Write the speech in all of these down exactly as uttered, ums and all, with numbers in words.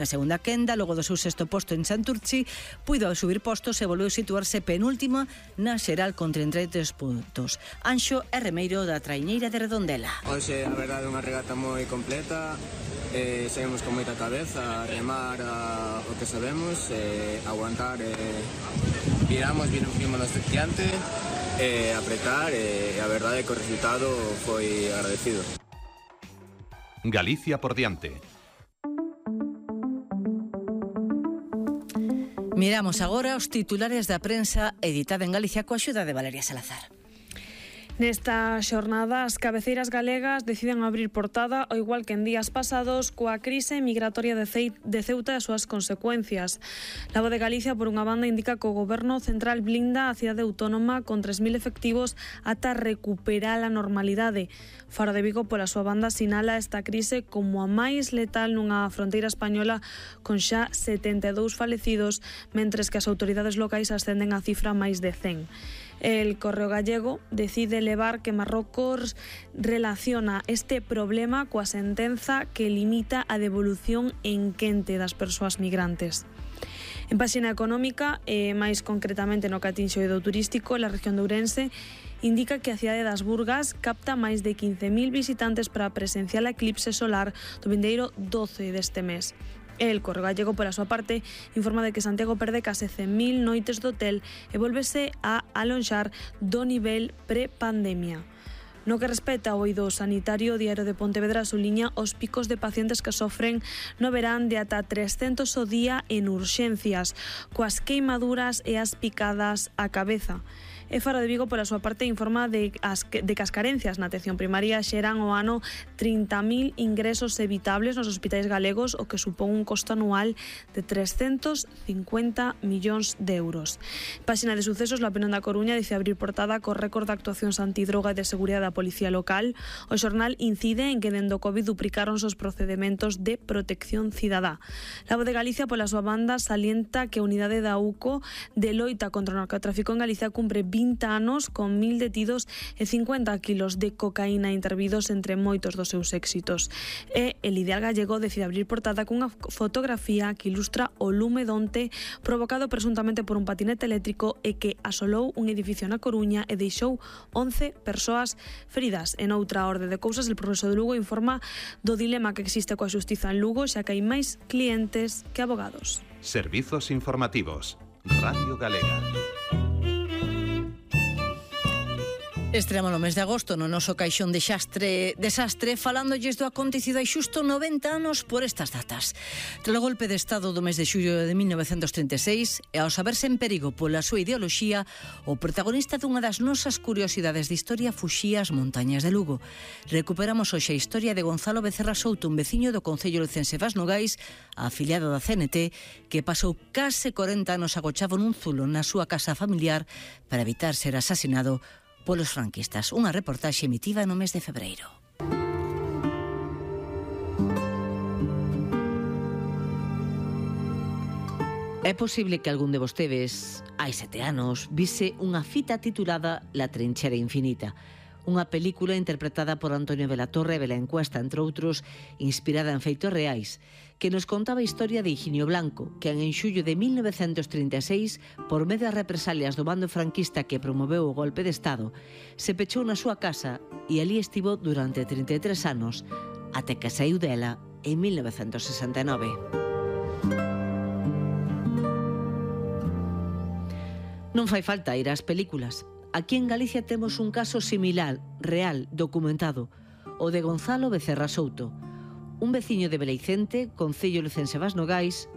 Na segunda quenda, logo do seu sexto posto en Santurchi, puido subir postos e volveu situarse penúltima na xeral con trinta e tres puntos. Anxo é remeiro da traiñeira de Redondela. Hoxe, a verdade, é unha regata moi completa. Eh, seguimos con moita cabeza a remar a, o que sabemos, eh, aguantar, eh, viramos, vimos no diante, eh, apretar, e eh, a verdade é que o resultado foi agradecido. Galicia por diante. Miramos agora os titulares da prensa editada en Galicia coa axuda de Valeria Salazar. Nesta xornada, as cabeceiras galegas deciden abrir portada, ao igual que en días pasados, coa crise migratoria de Ceuta e as súas consecuencias. La Voz de Galicia, por unha banda, indica que o Goberno Central blinda a cidade autónoma con tres mil efectivos ata recuperar a normalidade. Faro de Vigo, pola súa banda, sinala esta crise como a máis letal nunha fronteira española con xa setenta e dous falecidos, mentres que as autoridades locais ascenden a cifra máis de cen. El Correo Gallego decide levar que Marrocos relaciona este problema coa sentenza que limita a devolución en quente das persoas migrantes. En páxina económica, e máis concretamente no que atinxe o eido turístico, la región de Ourense indica que a cidade das Burgas capta máis de quince mil visitantes para presenciar a eclipse solar do vindeiro doce deste mes. El Correo Gallego, pola súa parte, informa de que Santiago perde case cen mil noites do hotel e volvese a alonxar do nivel pre-pandemia. No que respecta ao eido sanitario, o Diario de Pontevedra suliña os picos de pacientes que sofren no verán de ata trescentos o día en urxencias, coas queimaduras e as picadas á cabeza. E Faro de Vigo, pola súa parte, informa de, as, de que as carencias na atención primaria xeran o ano trinta mil ingresos evitables nos hospitais galegos, o que supón un costo anual de trescentos cincuenta millóns de euros. Páxina de sucesos, La Opinión da Coruña dice abrir portada co récord de actuacións antidroga e de seguridade da Policía Local. O xornal incide en que dende o Covid duplicáronse os procedementos de protección cidadá. La Voz de Galicia, pola súa banda, salienta que a unidade da U C O de loita contra o narcotráfico en Galicia cumpre vinte anos con mil detidos e cincuenta kilos de cocaína intervidos entre moitos dos seus éxitos. E el Ideal Gallego decide abrir portada cunha fotografía que ilustra o lume donte provocado presuntamente por un patinete eléctrico e que asolou un edificio na Coruña e deixou once persoas feridas. En outra orde de cousas, el Progreso de Lugo informa do dilema que existe coa xustiza en Lugo, xa que hai máis clientes que abogados. Servizos informativos. Radio Galega. Estremo no mes de agosto no noso caixón de xastre desastre falándolles do acontecido hai xusto noventa anos por estas datas. Tras o golpe de estado do mes de xullo de mil novecentos trinta e seis e ao saberse en perigo pola súa ideoloxía, o protagonista dunha das nosas curiosidades de historia fuxía ás montañas de Lugo. Recuperamos hoxe a historia de Gonzalo Becerra Souto, un veciño do concello lucense Vas Nogais, afiliado da C N T, que pasou case corenta anos agochado nun zulo na súa casa familiar para evitar ser asasinado polos franquistas. Unha reportaxe emitida no mes de febreiro. É posible que algún de vostedes, hai sete anos, vise unha fita titulada La trinchera infinita, unha película interpretada por Antonio Velatorre e Belén Cuesta, entre outros, inspirada en feitos reais, que nos contaba a historia de Higinio Blanco, que en xullo de mil novecentos trinta e seis, por medio das represalias do bando franquista que promoveu o golpe de Estado, se pechou na súa casa e ali estivo durante trinta e tres anos, até que saiu dela en mil novecentos sesenta e nove. Non fai falta ir ás películas. Aquí en Galicia temos un caso similar, real, documentado, o de Gonzalo Becerra Souto, un veciño de Beleicente, concello lucense Vas Nogais,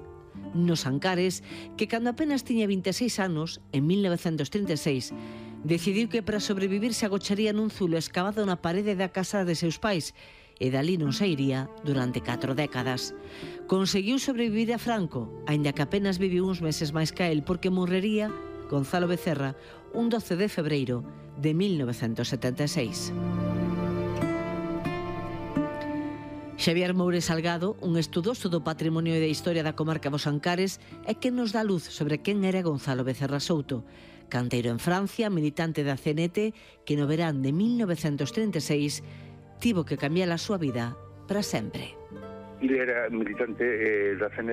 nos Ancares, que cando apenas tiña vinte e seis anos, en mil novecentos trinta e seis, decidiu que para sobrevivir se agocharía nun zulo escavado na parede da casa de seus pais e dali non sairía durante catro décadas. Conseguiu sobrevivir a Franco, aínda que apenas viviu uns meses máis que el, porque morrería Gonzalo Becerra un doce de febreiro de mil novecentos setenta e seis. Xavier Moure Salgado, un estudoso do patrimonio e da historia da comarca dos Ancares, é quen nos dá luz sobre quen era Gonzalo Becerra Souto, canteiro en Francia, militante da C N T, que no verán de mil novecentos trinta e seis tivo que cambiar a súa vida para sempre. ele era militante eh, da C N